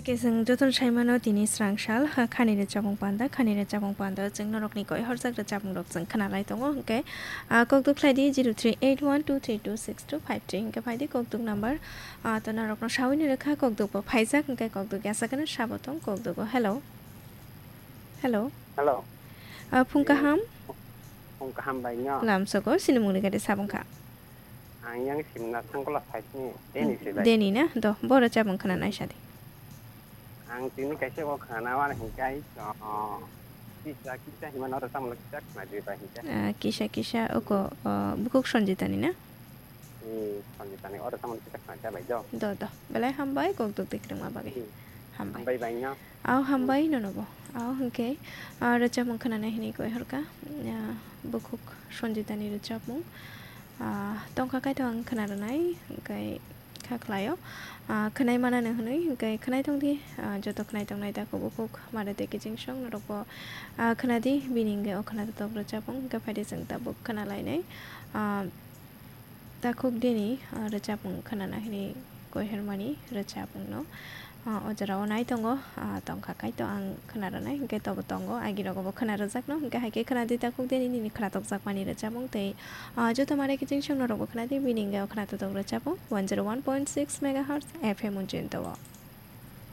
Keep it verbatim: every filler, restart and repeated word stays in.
Khe chwng jotono saimano tini srang sal, ha, khani rwchapmung panda, khani rwchapmung panda chwng norokni koi horjak rwchapmungrok chwng khwnalai tongo, hwnkhe, ah, kok duk khlai di zero three eight one two three two six two five three, hwnkhe phai di kok duk number, ah, to norokno sawini rwkha, kok duk bo phaijak, hwnkhe kok duk ya sakano sabo tong, kok duk o. Hello. Hello. Hello. Ah, phung Ni kaham. Phung kaham bai no. Lamsogo, sinimungni gade sabung kha. Ang yang simna sangkola side ni Deni se bai. Deni na? Do, bo rwchapmung khwnanai sadi. Ang tini kaisa ko khana wana hinkai, oh, kisa, kisa himano rwchapmung kisa khna di bai hinkai. Ah, kisa, kisa, oko, oh, bukhuk Sanjitani na? Ni Sanjitani o rwchapmung kisa khna di bai do. Do, do. Belai hambai, kok duk duk rwma bagwi. Hmm. Hambai. Hambai bai no. Au hambai nono bo. Au hwnkhe, ah, rwchapmung khwnanai hinwi koi horkha, ah, bukhuk Sanjitani rwchapmung. Ah, tongkha kaitor ang khna rwnai, hwnkhe kha khlaio. Ah, khwnai manano hwnwi, hwnkhe khwnai tongdi, ah, joto khwnai tongnai takhuk bukhuk mare tei kiching song norokbo, ah, khwnadi, bini hwnkhe o khwnatok rwchapmung, hwnkhe phaidi chwng tabuk khwnalainai. Ah, Takhuk dini, ah, rwchapmung khwnana hwnwi koi hormani rwchapmungno, ah, o jorao nai tongo, ah, tongkha kaitor ang khwna rwnai, hwnkhe tobo tongo, agirogo bo khwna rwjakno, hwnkhe hai khe khwnadi takhuk dini nini khwnatokjakmani rwchapmung tei, ah, joto mare kiching song norokbo khwnadi, bini hwnkhe o khwnatotok rwchapmung one zero one point six megahertz F M Unjinto o.